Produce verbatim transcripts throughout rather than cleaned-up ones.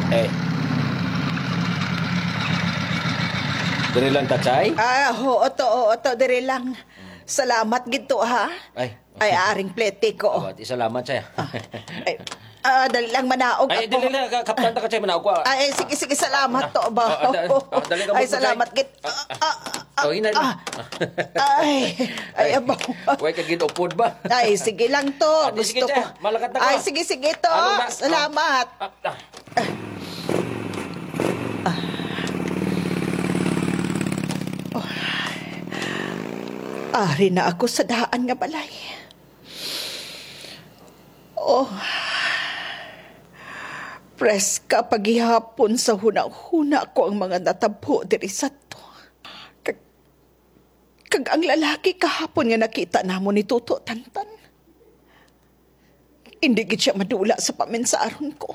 Eh. Diri lang ta, Chay? Ah, oo, to, oo, to, diri lang. Salamat gid to, ha? Ay. Ay, aring plete ko. Awa, ti salamat, Chay. Ah, ay, ah, dali lang, manaog Ay, ako. Dali lang, ka-, kaptan ta ka, Chay, manaog ko, ah. Ay, sige, sige, salamat to, ba? Ah, ah, da-, ah, dali ka Ay, mo, Chay. Salamat gid. Ah, ah, ah, Oh, hinay na. Ah. Ay, ay, Ay, abaw. Way ka gid upod ba? Ay, sige lang to. Ah, di, sige, Gusto Chay. Ko. Malakat na ko. Ay, sige, sige to. Ano na? Salamat. Ah, ah. Ah. Oh. Ari na ako sa daan nga balay. Oh. Preska pa gihapon sa hunahuna ko ang mga natabo diri sa to. Kag, kag ang lalaki kahapon nga nakita namo ni Toto Tantan. Hindi gid siya madula sa paminsaron ko.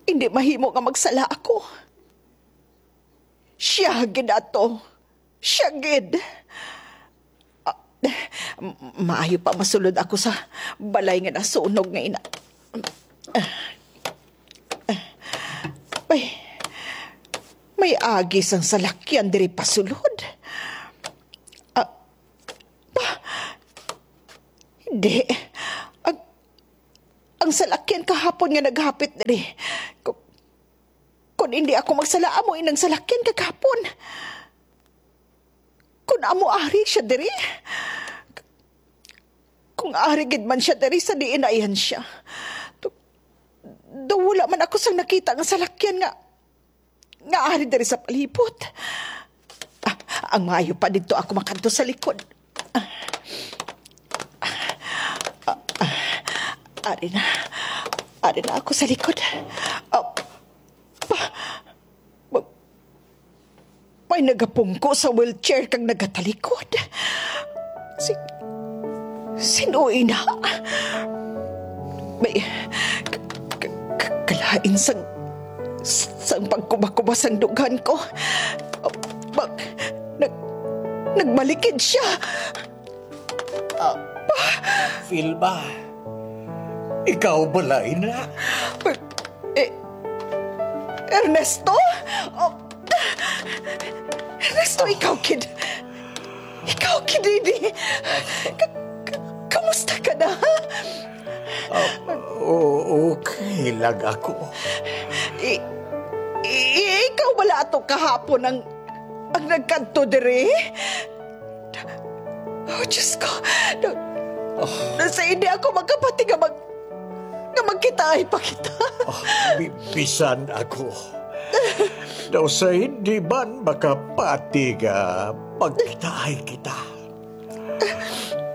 Hindi mahimo nga magsala ako. Siya gid ato. Siya gid. Ah, m-, maayo pa masulod ako sa balay nga nasunog nga ina. May, may agi sang salakyan diri pasulod. Ah, pa, hindi. Ang, ang salakyan kahapon nga naghapit diri. Ku-, kun hindi ako magsala, amo inang salakyan kagahapon. Kun amo ari siya diri, kung ari gid man siya diri sa diin ayan siya, do, do wala man ako sang nakita nga salakyan nga, nga ari diri sa palibot. Ah, ang maayo pa didto ako makadto sa likod. Ah, ah, ah, ari na. Ari na ako sa likod. Ah, pa, May nagapungko sa wheelchair kag nagatalikod. Si, sino ina? May, k-, k-, k-, kalain sang, sang pagkuba-kuba sang dughan ko. Mag-, nag-, nagmalikid siya. Ah, Filma, ikaw bala ina? Eh, Ernesto? Oh, Ernesto, ikaw gid. Ikaw gid ini. Ka-, ka-, kamusta ka na? Ah, o-, okay lang ako. I-, i-, ikaw bala ato kahapon ang, ang nagkadto diri? Oh, Diyos ko. Na, Oh. na sa hindi ako magkapati nga mag-, nga magkitaay pa kita. Oh, bi-, bisan ako. Daw sa hindi man makapati nga magkitaay kita.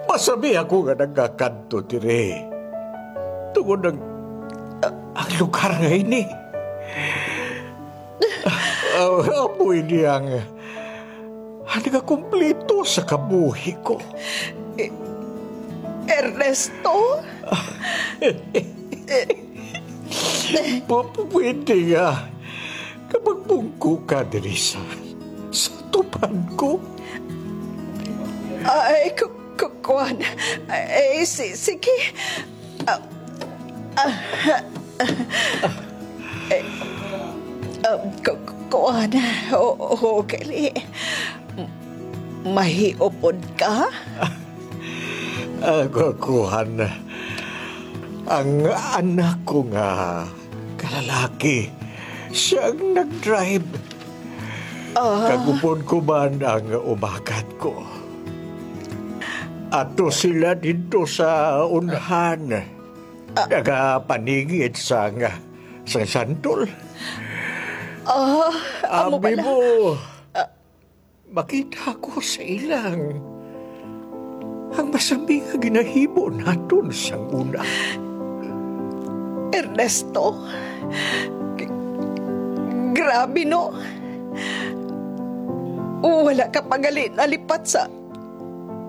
Masabi ako nga nagakadto diri. Tungod ang, ang lugar nga ini. Ah, amoy niyang Ang nagakumpleto sa kabuhi ko. E-, Ernesto? Pu-, pu-, pwede nga kapag bungko ka diri sa, sa tupan ko. Ay, ku-, ku-, kuwan. Ay, si-, sige. Ah, ah, ah, eh, ah, ku-, ku-, kuwan. O-, okay. M-, mahiupod ka? Ah, ku-, kuwan. Ang anak ko nga kalalaki, siya ang nag-drive. Ah. Kag upod ko man ang umagat ko. Ato sila didto sa unhan. Ah. Nagapaningit sang, sang santol. Ah, amo Abi bala? Mo, Ah. makita ko sa ilang ang masami nga ginahimo naton sang una. Ernesto, g-, grabe, no? Wala ka pa gali nalipat sa,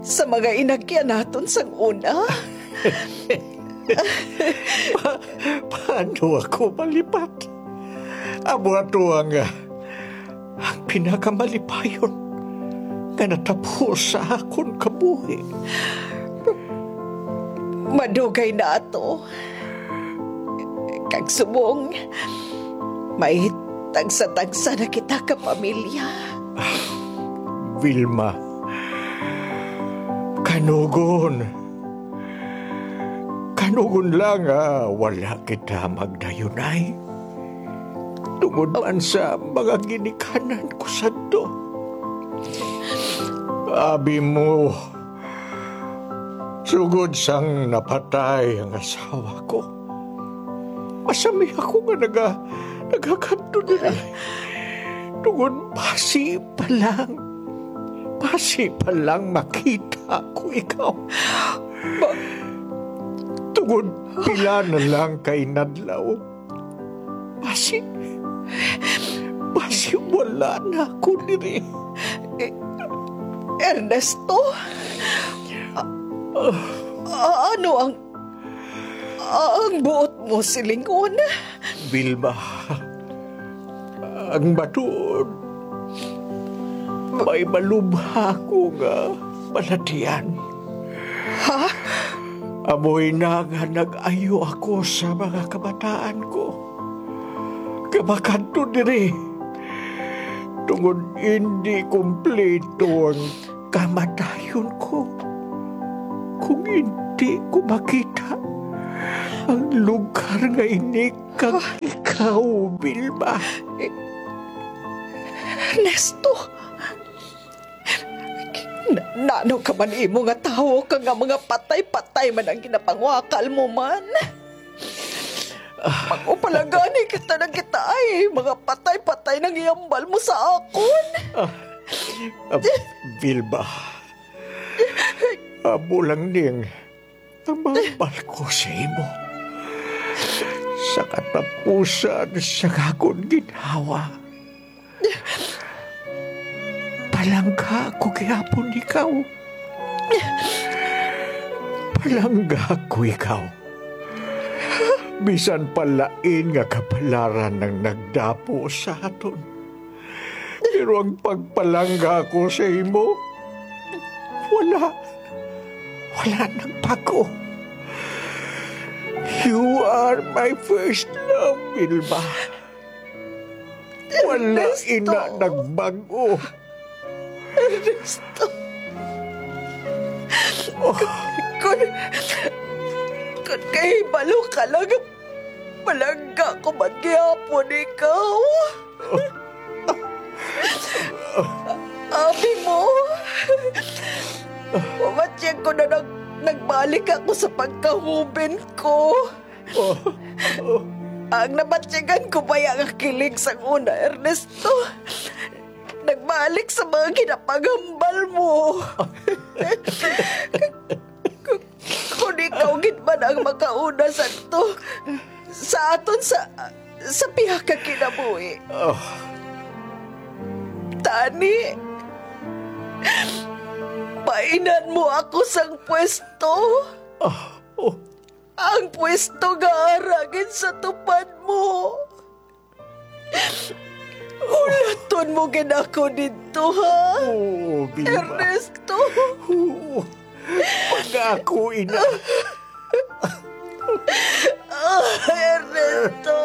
sa mga inagyan naton sang una. Pa-, paano ako malipat? Amo ato ang, ah, ang pinakamalipayon nga natabo sa akon kabuhi. Madugay na ato. Kag subong, may tagsa-tagsa na kita ka pamilya. Vilma, kanugon. Kanugon lang nga wala kita magdayunay. Tungod man sa mga ginikanan ko sadto. Abi mo, sugod sang napatay ang asawa ko, masami ako nga naga-, nagakadto diri. Tungod basi pa lang, basi pa lang makita ko ikaw. Ba-, tungod pila na lang ka inadlaw, basi, basi wala na ako diri. Eh, Ernesto? A-, a-, ano ang, ang buot mo silingon? Vilma, ang matuod, may malubha ko nga balatian. Ha? Amo ina nga nag-ayo ako sa mga kabataan ko nga makadto diri, tungod indi kumpleto ang kamatayon ko kung indi ko makita ang lugar nga ini kag ikaw, Vilma. Ernesto, na-, nano ka man imo nga tawo ka nga mga patay-patay man ang ginapangwakal mo man? Mag-upalagani kita na kita ay mga patay-patay nang iambal mo sa akon. Ah, ah, Vilma, amo lang ning ang mahambal ko sa imo. Sa katapusan sa akon ginhawa, palangga ko gihapon ikaw. Palangga ko ikaw. Bisan pa lain nga kapalaran ang nagdapo sa aton, pero ang pagpalangga ko sa imo, wala, wala nagbago. You are my first love, Vilma. Wala Ernesto. Ina nagbago. Ernesto. Oh. Kun, kun kahibalo ka lang, palangga ko man gihapon ikaw. Abi mo, mamatiyag ko na nag-, nagbalik ako sa pagkahuben ko. Oh. Ang namatyagan ko baya nga kilig sang una, Ernesto, nagbalik sa mga ginapanghambal mo. Kung ikaw gid man ang makauna sa to, sa aton sa, sa pihak ka kinabuhi. Ah. Tani, painan mo ako sang pwesto. Ah, oh. Ang pwesto nga ara gid sa tupad mo. Hulaton mo gid ako didto, ha? Oo, Vilma. Ernesto! Oo. Pangako, ina. Ah, Ernesto!